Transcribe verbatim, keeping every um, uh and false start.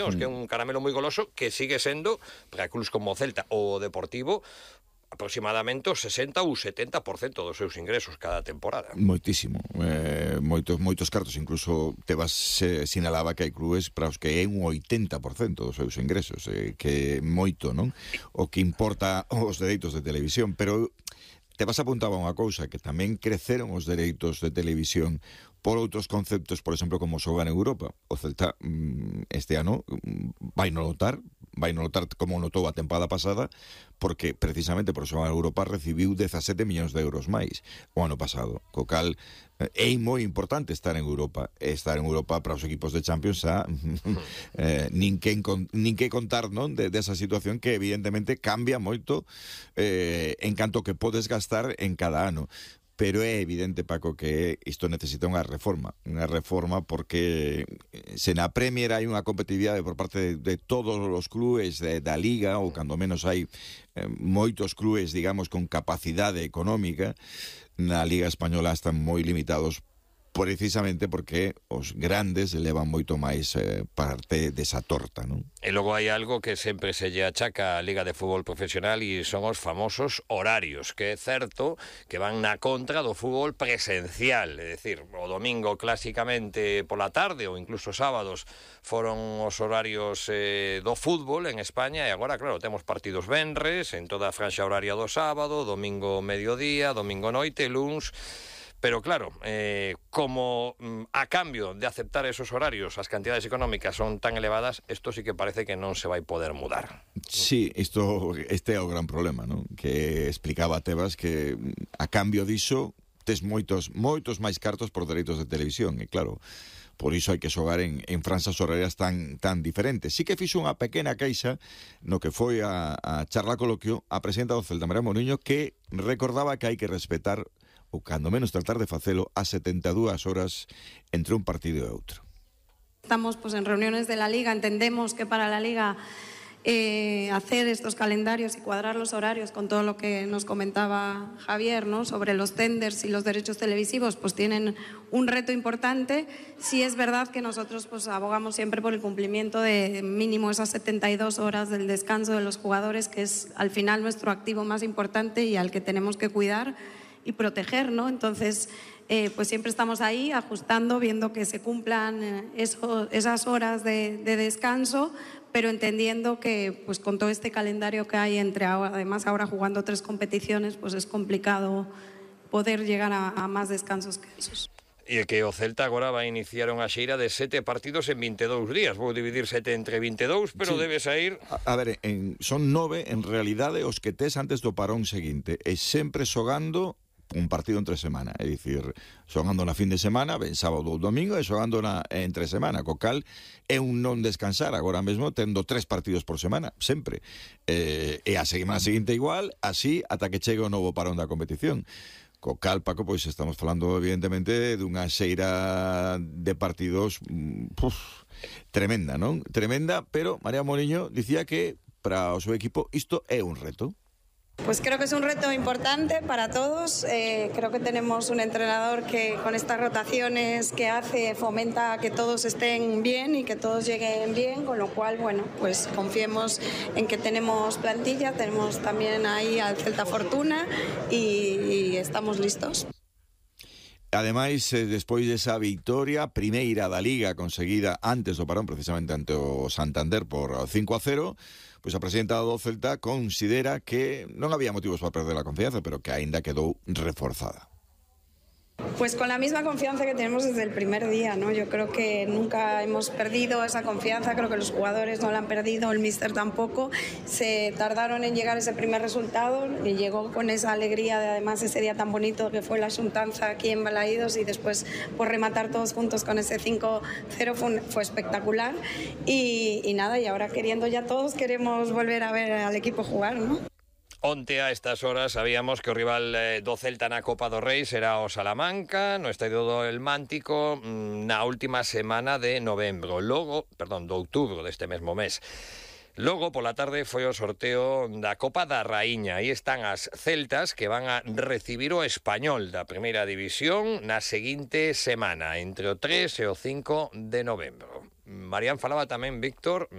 mm. que é un caramelo moi goloso que sigue sendo para clubs como Celta ou Deportivo aproximadamente o sesenta ou setenta por cento dos seus ingresos cada temporada. Moitísimo, eh, moitos moitos cartos, incluso Tebas eh, sinalaba que hai clubes para os que é un oitenta por cento dos seus ingresos, eh, que moito, non? O que importa os dereitos de televisión, pero Tebas apuntaba unha cousa, que tamén creceron os dereitos de televisión por outros conceptos, por exemplo, como xogar en Europa. O Celta este ano vai no notar, vai no notar como notou a tempada pasada, porque precisamente por xogar en Europa recibiu dezasete millóns de euros máis o ano pasado, co cal é moi importante estar en Europa. Estar en Europa para os equipos de Champions xa eh, nin, que, nin que contar, non, de, de esa situación que evidentemente cambia moito eh, en canto que podes gastar en cada ano. Pero é evidente, Paco, que isto necesita unha reforma, unha reforma porque se na Premier hai unha competitividade por parte de, de todos os clubes de, da Liga, ou cando menos hai eh, moitos clubes, digamos, con capacidade económica, na Liga Española están moi limitados precisamente porque os grandes levan moito máis eh, parte desa torta, non? E logo hai algo que sempre se lle achaca á Liga de Fútbol Profesional e son os famosos horarios, que é certo que van na contra do fútbol presencial, é dicir, o domingo clásicamente pola tarde ou incluso sábados foron os horarios eh, do fútbol en España e agora, claro, temos partidos venres en toda a franxa horaria do sábado, domingo mediodía, domingo noite, luns. Pero claro, eh, como mm, a cambio de aceptar esos horarios as cantidades económicas son tan elevadas, isto sí que parece que non se vai poder mudar. Sí, isto, este é o gran problema, non? Que explicaba Tebas que a cambio diso tes moitos, moitos máis cartos por dereitos de televisión, e claro, por iso hai que xogar en, en franxas horarias tan, tan diferentes. Sí que fixo unha pequena queixa no que foi a, a charla coloquio a presidenta do Celta, María Mouriño, que recordaba que hai que respetar ou cando menos tratar de facelo a setenta e dúas horas entre un partido e outro. Estamos pues, en reuniones de la Liga, entendemos que para la Liga eh, hacer estos calendarios y cuadrar los horarios con todo lo que nos comentaba Javier, ¿no? Sobre los tenders y los derechos televisivos, pues tienen un reto importante. Sí es verdad que nosotros pues, abogamos siempre por el cumplimiento de mínimo esas setenta y dos horas del descanso de los jugadores, que es al final nuestro activo más importante y al que tenemos que cuidar y proteger, ¿no? Entonces, eh, pues siempre estamos ahí ajustando, viendo que se cumplan eh, eso, esas horas de, de descanso, pero entendiendo que pues con todo este calendario que hay entre ahora, además ahora jugando tres competiciones, pues es complicado poder llegar a, a más descansos que esos. E que o Celta agora vai iniciar unha xeira de sete partidos en vinte e dous días. Vou dividir sete entre vinte e dous, pero sí. Debe sair... A, a ver, en, son nove, en realidade, os que tes antes do parón seguinte. E sempre xogando un partido entre semana, é dicir, xogando na fin de semana, ben sábado ou domingo, e xogando na entre semana, co cal é un non descansar, agora mesmo tendo tres partidos por semana, sempre. Eh, e a semana seguinte igual, así, ata que chegue o novo parón da competición. Co cal, Paco, pois estamos falando evidentemente dunha xeira de partidos puf, tremenda, non? Tremenda, pero María Mouriño dicía que para o seu equipo isto é un reto. Pues creo que es un reto importante para todos. Eh, creo que tenemos un entrenador que con estas rotaciones que hace fomenta que todos estén bien y que todos lleguen bien, con lo cual, bueno, pues confiemos en que tenemos plantilla, tenemos también ahí al Celta Fortuna y, y estamos listos. Ademais, eh, despois desa victoria primeira da Liga conseguida antes do parón, precisamente ante o Santander por cinco a cero, pois a presidenta do Celta considera que non había motivos para perder a confianza, pero que aínda quedou reforzada. Pues con la misma confianza que tenemos desde el primer día, ¿no? Yo creo que nunca hemos perdido esa confianza, creo que los jugadores no la han perdido, el míster tampoco. Se tardaron en llegar ese primer resultado y llegó con esa alegría de además ese día tan bonito que fue la xuntanza aquí en Balaídos y después por rematar todos juntos con ese cinco cero fue, fue espectacular y, y nada, y ahora queriendo ya todos queremos volver a ver al equipo jugar, ¿no? Onte a estas horas sabíamos que o rival eh, do Celta na Copa do Rei será o Salamanca, no Estadio do El Mántico, na última semana de novembro, logo, perdón, do outubro deste mesmo mes. Logo, pola tarde, foi o sorteo da Copa da Raíña. Aí están as celtas que van a recibir o Español da Primeira División na seguinte semana, entre o tres e o cinco de novembro. Marían falaba tamén, Víctor,